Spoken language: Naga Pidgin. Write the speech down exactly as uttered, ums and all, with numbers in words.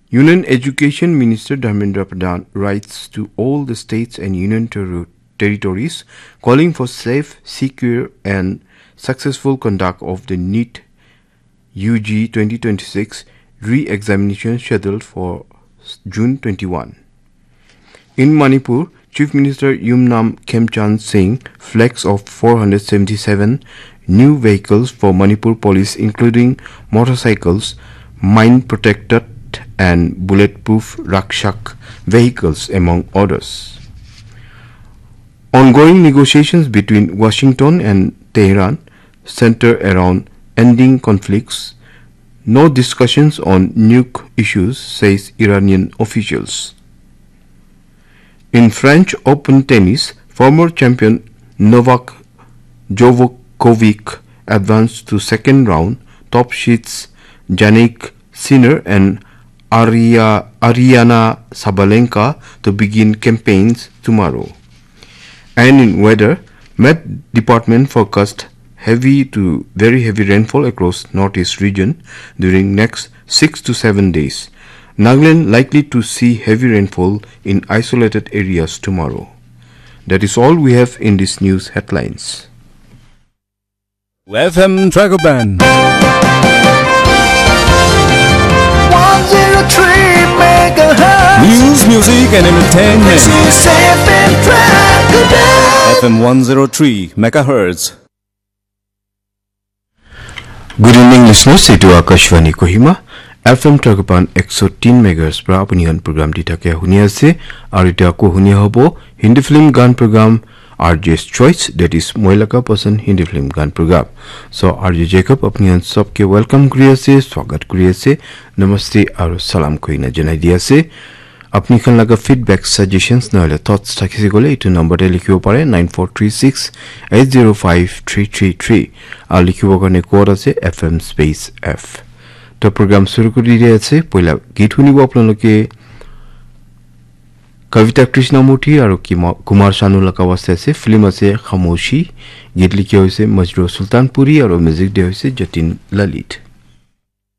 Union Education Minister Dharmendra Pradhan writes to all the states and union ter- territories calling for safe, secure, and successful conduct of the NEET U G twenty twenty-six re-examination scheduled for June twenty-one. In Manipur, Chief Minister Yumnam Khemchand Singh flags off four hundred seventy-seven new vehicles for Manipur police, including motorcycles, mine protected and bulletproof Rakshak vehicles, among others. Ongoing negotiations between Washington and Tehran center around ending conflicts, no discussions on nuke issues, says Iranian officials. In French Open tennis, former champion Novak Djokovic advanced to second round, top seeds Jannik Sinner and Aria- Aryna Sabalenka to begin campaigns tomorrow. And in weather, Met Department forecast heavy to very heavy rainfall across northeast region during next six to seven days. Nagaland likely to see heavy rainfall in isolated areas tomorrow. That is all we have in this news headlines. F M Tragoban. one zero three megahertz. News, music, and entertainment. This is F M Tragoban. F M one zero three megahertz. Good evening, listeners. Etu Akashvani Kohima, F M Tragoban ekso tin megahertz pra apuni khan program di thakia huni ase. Aru etia ako huni hobo Hindi film gan program, R J's Choice, that is Moi Laga Pasan Hindi film gan program. So, R J Jacob apuni khan sob ke welcome kuri ase, swagat kuri ase, namaste aru salam koina janai di ase. Apni khan laga feedback, suggestions, nohole thoughts thakise koile, etu number te likhibo pare, nine four three six eight zero five three three three. Aru likhibo karne code ase F M space F. To program shuru kuri di ase, poila geet hunibo apnaloke Kavita Krishnamurthy aru Kima- Kumar Sanu laga waste ase, film ase Khamoshi, geet likhi hoise Majrooh Sultanpuri aru music de hoise Jatin Lalit.